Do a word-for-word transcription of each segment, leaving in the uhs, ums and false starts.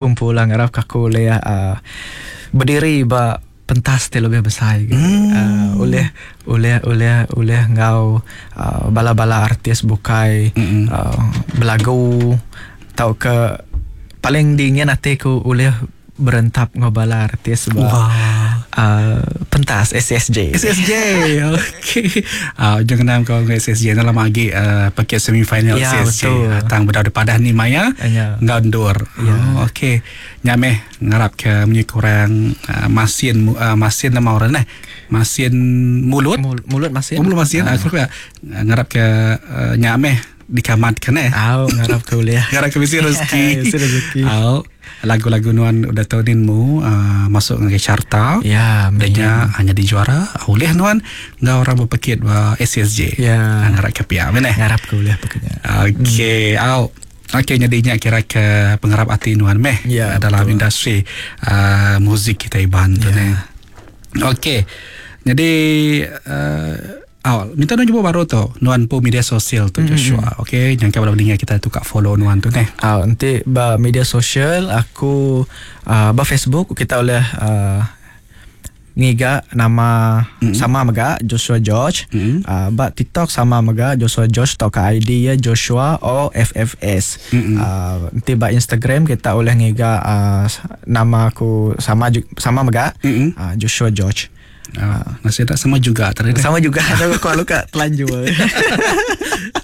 Kumpulan ngarap ke aku oleh uh, berdiri ba pentas ti lebih besar gitu. Hmm. Uh, oleh oleh oleh oleh ngau uh, bala-bala artis bukai Mm-mm. uh, belagu tau ke paling dingin hati ku oleh berentap ngau bala artis ba Wah. uh, pentas S S J. S S J. Okey. Ah, jangan nama kau dengan S S J dalam lagi uh, paket semifinal Ya, S S J. betul. Ah, tang beda padah ni maya. Ya. Ngau ndur. Ya. Oh, okey. Nyameh ngarap ke menye kurang uh, masin uh, masin nama orang eh. Masin mulut. Mul- mulut masin. Oh, mulut masin. Aku uh, ngarap ke uh, nyameh dikamatkan eh. Au ngarap ke boleh. Ngarap ke bisi rezeki. Bisi rezeki. Au, lagu-lagu nuan udah tahunin mu uh, masuk ngagai carta. Ya, amin. Danya hanya di juara oleh nuan ngau orang berpekit ba S S J. Ya. Ngarap ke pia mana. Ngarap ke boleh pokoknya. Okey, au. Okey, jadinya kira ke pengarap hati nuan meh Ya, dalam betul. industri uh, muzik kita Iban tu Ya. ni. Okey. Jadi uh, awal minta nuan jumpa baru tu nuan pun media sosial tu Joshua. Okey, jangan kalau dengar kita tu kat follow nuan tu ni. Ah, nanti ba media sosial aku uh, ba Facebook kita oleh uh, ngiga nama mm-hmm. sama mega Joshua George. Mm-mm. Uh, ba TikTok sama mega Joshua George atau ke I D ya Joshua O F F S. Mm-mm. Uh, nanti ba Instagram kita oleh ngiga uh, nama aku sama ju- sama mega Mm-mm. uh, Joshua George. Uh, masih tak sama juga tadi. Sama juga tapi aku luka telanjur.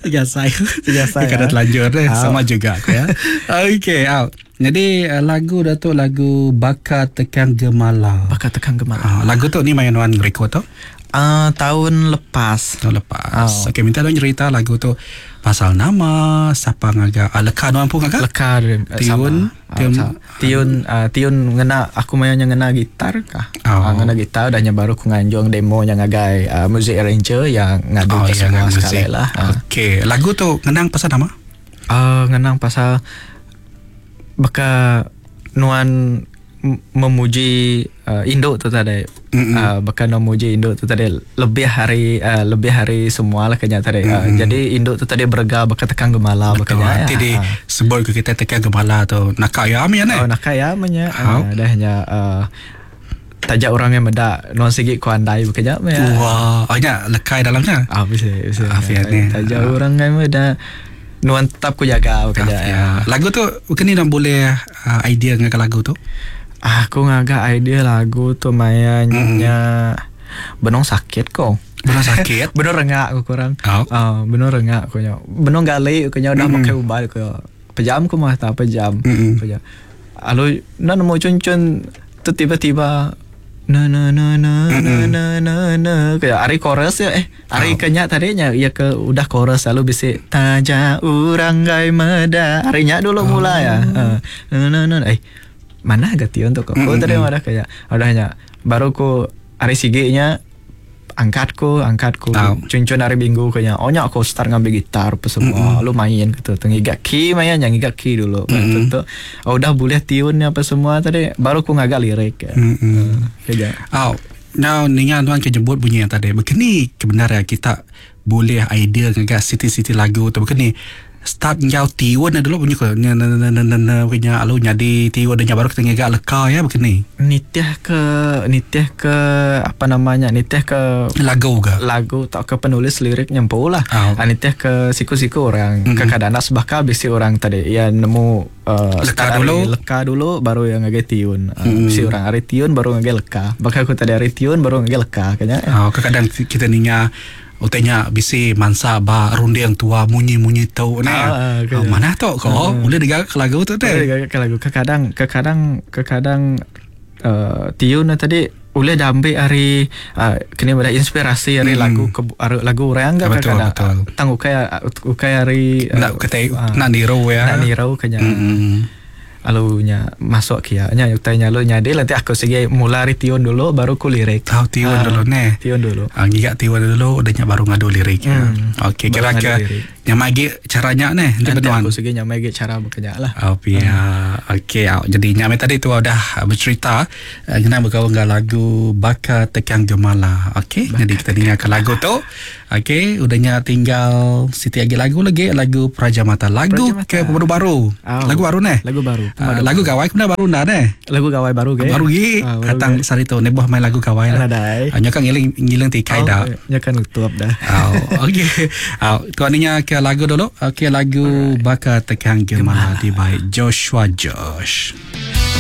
Biasa. Biasa, Kadang ya. telanjur deh. Ah. Sama juga aku ya. Okey, out. Jadi eh, lagu dah tu lagu Bakar Tekang Gemala. Bakal tekan gemala. Ah, lagu tu ni main nuan record tu Uh, tahun lepas. Tahun lepas. Oh. Okey, minta nuan cerita lagu tu pasal nama, siapa ngagak, ah, leka nuan pun ngagak? Leka eh, Tiun, sama. tiun- Tiun tiun uh, tiun ngena aku mainnya ngena gitar kah. Oh. Oh. Ngena gitar dan baru ku nganjung demo yang ngagai uh, music arranger yang ngadu Oh, ke ya, semua ngagak sekali muzik. lah. Uh. Okey, lagu tu ngenang pasal nama? Uh, ngenang pasal baka nuan m- memuji uh, induk tu tadi. Mm-mm. Uh, baka nuan memuji induk tu tadi lebih hari uh, lebih hari semua lah kenya tadi. Uh, jadi induk tu tadi berga baka tekang gemala baka Betul. nya. Nanti ya. di sebut ke kita Tekang Gemala tu. Nakak ya amin eh. Oh nak kaya menya. How? Uh, dah nya uh, tajak orang yang medak non segi ku andai bekerja menya. Wah, oh, nya lekai dalamnya. Ah bisa bisa. Ah, fiat ni. Tajak orang yang medak nuan tetap ku jaga bekerja. Ya. Ya. Lagu tu bukan ni dah boleh uh, idea dengan lagu tu? Aku ngagak idea lagu tu mayanya benong sakit kok. Belum sakit. Benong rengak aku kurang. Oh. Ah, benong rengak aku nya. Benong gali aku nya udah Mm-mm. pakai ubat aku. Pejam aku mah tak pejam. Mm-mm. Pejam. Lalu na nemu cun-cun tu tiba-tiba na na na na na na na na kayak ari chorus ya eh ari Oh. kenya tadinya ya ke udah chorus lalu bisa taja urang gai meda arinya dulu mulai ya. Eh, na na na eh mana agak tion tuh kok Mm-mm. tadi ada kayak udahnya baru ku ari sigenya angkat ku angkat ku Tahu. cuncun hari minggu kayaknya oh nya aku start ngambil gitar apa semua lu main gitu tuh ngigak key main yang ngigak key dulu Mm-mm. mm. tuh oh, udah boleh tiunnya apa semua tadi baru ku ngagak lirik ya. Mm-mm. Kayak Oh, now ningan tuan kejemput bunyi yang tadi. Begini kebenaran kita boleh idea dengan siti-siti lagu tu. Begini start ngau tiun dah dulu bunyi ko na na na na na na punya alu nyadi tiun dan baru kita ngegak leka ya begini. Nitih ke nitih ke apa namanya nitih ke Lagu ke? Lagu tak ke penulis lirik nyempu lah. Oh. Oh. Nitih ke siku-siku orang Mm-mm. mm-hmm. Kekadang sebaka bisi orang tadi ya nemu uh, Leka start dulu. ari leka dulu baru yang ngagai tiun. Uh, Mm-mm. Bisi orang ari tiun baru ngagai leka. Bakal aku tadi ari tiun baru ngagai leka kayaknya. Oh, kadang kita ninga utenya bisi mansa ba runding tua munyi-munyi tau ne. Ah, ah, Oh, kaya. mana tu ko boleh digagak ke lagu tu Boleh teh. digagak ke lagu kekadang kekadang kekadang uh, tiun na tadi boleh dah ambil hari uh, kena ada inspirasi hari Mm. lagu ke hari lagu orang ke Betul, kadang betul. tang ukai ukai hari uh, Nak kata ah, nak niru ya. nak niru kenya. Mm-mm. Lalu nya masuk kia nya utai nya lu nya dia nanti aku segi mula hari tiun dulu baru ku lirik. Tahu tiun Ah, dulu ne. Tiun dulu. Ah, ngigak tiun dulu udahnya baru ngadu lirik. Ya. Hmm. Okey, Baru kira ngadu ke lirik. yang magi caranya ne nanti Nanti benuan. aku segi nya magi cara bekerja lah. Oh, pia. Okey, ah, jadi nyame tadi tu dah bercerita eh, kena berkawan dengan lagu Bakar Tekang Gemala. Okey, jadi kita dengarkan lagu tu. Okey, udahnya tinggal siti lagi lagu lagi lagu Praja Mata. Lagu Praja Mata. ke baru-baru. Oh. Lagu baru ne? Lagu baru. Uh, lagu gawai kena baru dah deh. Lagu gawai baru ke? Baru gi. Ah, baru Katang ge. sari tu neboh main lagu gawai lah. Nadai. Uh, nyakan ngiling ngiling tikai Oh, dah. nya kan tutup dah. Oh, okey. Oh, tuan ni ke lagu dulu. Okey, lagu Baka Tekang Gemala di by Joshua Josh.